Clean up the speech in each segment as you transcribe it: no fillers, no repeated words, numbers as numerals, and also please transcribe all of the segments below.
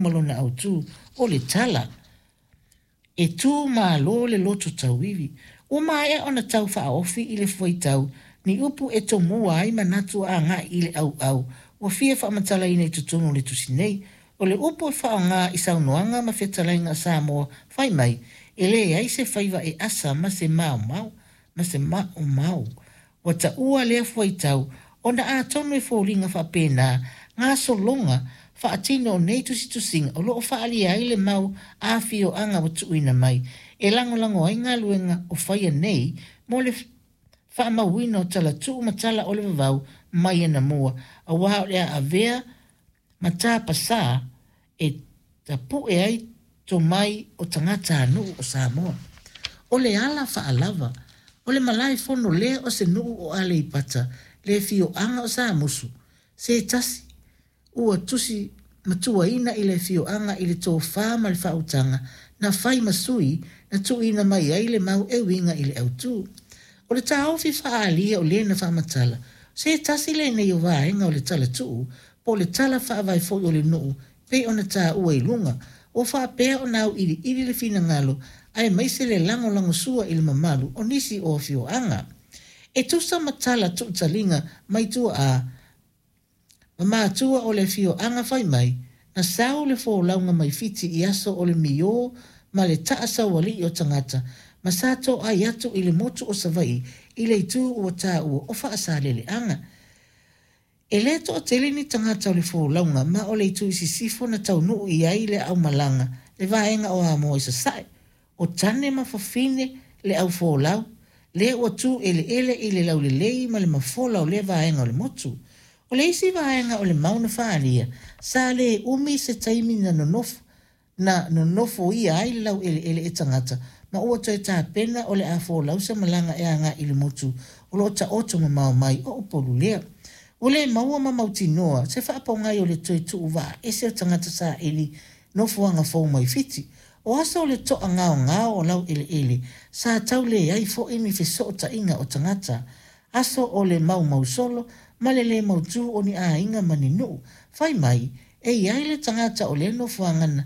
Ma lona autu, o le tala, E tu malo le loto tauivi. Ua maea ona tau faaofi i le fuaitau ni upu e tomua ai manatu agai i le auau ua fia faamatalaina i totonu o le tusi nei. O le upu e faaaoga i saunoaga ma fetalaiga a Samoa fai mai, e leai se faiva e asa ma se maomao, ma se maumau. Ua taua lea fuaitau ona atonu e foliga faapena gasologa faatino o nei tusitusiga o lo o faaalia ai le mau afioaga ua tuuina mai e lagolago ai galuega o faia nei mo le faamauina o talatuu ma tala o le vavau mai anamua aua o le a avea ma tapasā e tapue ai tomai o tagatanuu o Samoa. O le ala faalava, o le malae fono lea o se nuu o Aleipata, le afioaga o Samusu, se tasi ua tusi matuaina i le afioaga i le tofa ma le faautaga na fai ma sui na tuuina mai ai le mau e uiga i le autu. O le taofi faaalia o lena faamatala, se tasi lenei o vaega o le talatuu po o le tala faavae foi o le nuu pei ona taua i luga, ua faapea ona auiliili le finagalo aemaise le lagolagosua i le mamalu o nisi o afioaga. E tusa ma tala tuutaliga mai tuaa ma matua o le afioaga fai mai, na sau le folauga mai Fiti i aso o le miō ma le taa saualii o tagata ma sa toai atu i le motu o Savaii i le itu ua taua o Faasaleleaga. E le toatele ni tagata o le folauga ma o le itu i sisifo na taunuu i ai le aumalaga le vaega o Amoa i sasae. O tane ma fafine le au folau, lea ua tu eleele i le laulelei ma le mafola o lea vaega o le motu. O le isi vaega o le mau na faaalia, sa le umi se taimi na nonofo na nonofoia ai le laueleele e tagata, ma ua toe tapena o le a folau se malaga e agai i le motu o lo o taoto mamao mai o Upolu lea. Ua le maua ma mautinoa se faapogai o le toe tuu vaa ese o tagata saili nofoaga fou mai Fiti. O aso o le toagaogao o laueleele, sa tau leai foi ni fesootaiga o tagata. Aso o le maumausolo ma le lē mautū o ni aiga ma ni nuu. Fai mai, e i ai le tagata o lea nofoaga na,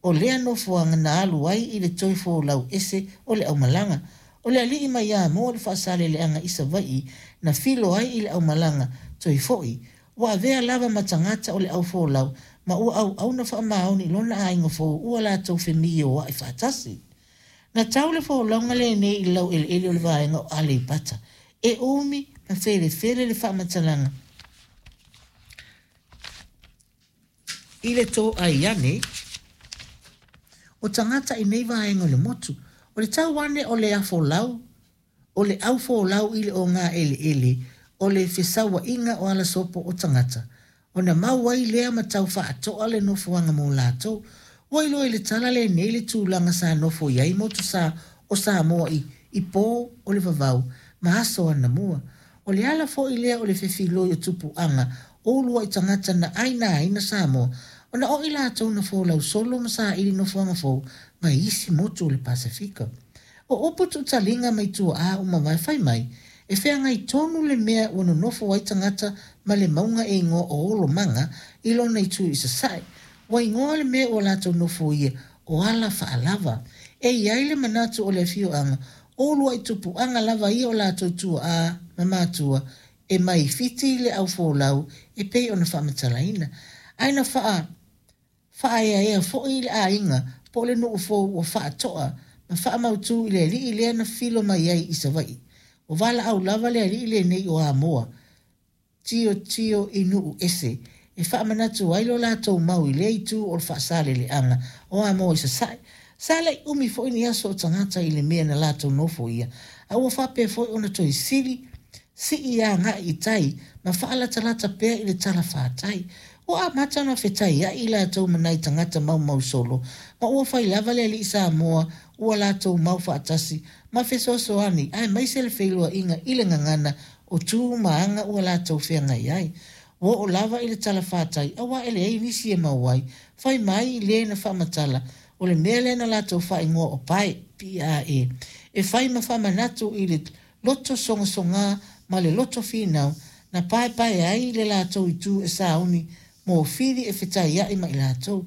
o lea nofoaga na alu ai i le toe folau ese o le aumalaga. O le alii mai Amoa le Faasaleleaga i Savaii na filo ai i le aumalaga toe fo'i. Ua avea lava ma tagata o le au folau ma ua auauna faamaoni i lona aiga fou ua latou femioa'i faatasi. Na tau le folauga lenei i le laueleele o le vaega o Aleipata. E umi ma felefele le faamatalaga i le toai ane o tagata i nei vaega o le motu. O le tau ane o le afolau, o le au folau i le ogaeleele o le fesauaiga o alasopo o tagata, ona mau ai lea ma tau faatoa le nofoaga mo latou. Ua iloa i le tala lenei le tulaga sa nofo i ai motu sa o Samoa i i pō o le vavau ma aso anamua. O le ala foi lea o le fefiloi o tupuaga o uluai tagata na ainaina Samoa ona o i latou na folau solo ma saili nofoaga fou mai isi motu o le Pasefika. O upu tuutaliga mai tuaa ua mavae fai mai, e feagai tonu le mea ua nonofo ai tagata ma le mauga e igoa o Olomaga i lona itu i sasae. Ua igoa le mea ua latou nofoia o ala faalava. E i ai le manatu o le afioaga, o uluai tupuaga lava ia o latou tuaa ma matua e mai Fiti le au folau e pei ona faamatalaina. Ae na faa faaeaea foi i le aiga po o le nuu fou ua faatoa ma faamautū i le alii lea na filo mai ai i Savaii. Ua valaau lava le alii lenei o Amoa, tilotilo i nuu ese, e faamanatu ai lo latou mau i lea itu o le Faasaleleaga o Amoa i sasae. Sa le i umi foi ni aso o tagata i le mea na latou nofoia, a ua faapea foi ona toe sili sii agai i tai ma faalatalata pea i le talafatai. Ua amata ona fetaiai i latou ma nai tagata maumausolo, ma ua fai lava le alii Samoa ua latou mau faatasi ma fesoasoani aemaise le feiloaiga i le gagana o tu ma aga ua latou feagai ai. Ua oo lava i le talafatai aua e leai nisi e mau ai, fai mai le na faamatala, o le mea lea na latou faaigoa o pae, PAE, e fai ma faamanatu i le loto sogasogā ma le loto finau na paepae ai le latou itu e sauni mofili e fetaiai ma i latou.